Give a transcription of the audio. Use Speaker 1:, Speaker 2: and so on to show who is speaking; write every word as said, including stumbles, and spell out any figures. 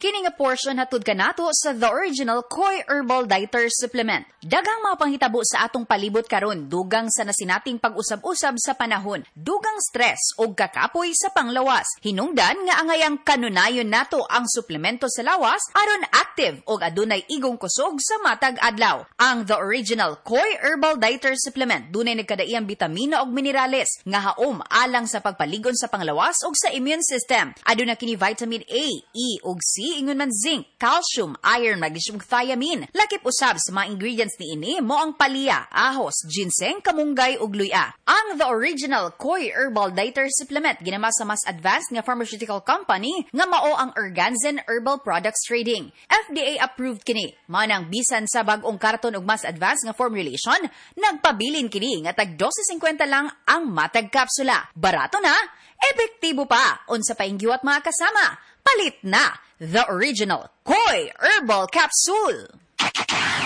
Speaker 1: Kini nga portion hatod kanato sa The Original Koi Herbal Dietary Supplement. Daghang mga panghitabo sa atong palibot karon, dugang sa nasinating pag-usab-usab sa panahon, dugang stress ug kakapoy sa panglawas. Hinungdan nga angayang kanunayon nato ang suplemento sa lawas aron active ug adunay igong kusog sa matag adlaw. Ang The Original Koi Herbal Dietary Supplement dunay nagkadaiyang bitamina ug minerales nga haom alang sa pagpaligon sa panglawas ug sa immune system. Aduna kini vitamin A, E ug C, ingon man zinc, calcium, iron, magnesium, ug thiamine. Lakip usab sa mga ingredients niini mao ang palya, ahos, ginseng, kamunggay ug luya. Ang The Original Koi Herbal Dietary Supplement ginama sa mas advanced nga pharmaceutical company nga mao ang Erganzen Herbal Products Trading. F D A approved kini. Manang bisan sa bag-ong karton ug mas advanced nga formulation, nagpabilin kini nga tag dose singkwenta lang ang matag kapsula. Barato na, epektibo pa. Unsa pa giwat, mga kasama? Palit na! The Original Koi Herbal Capsule!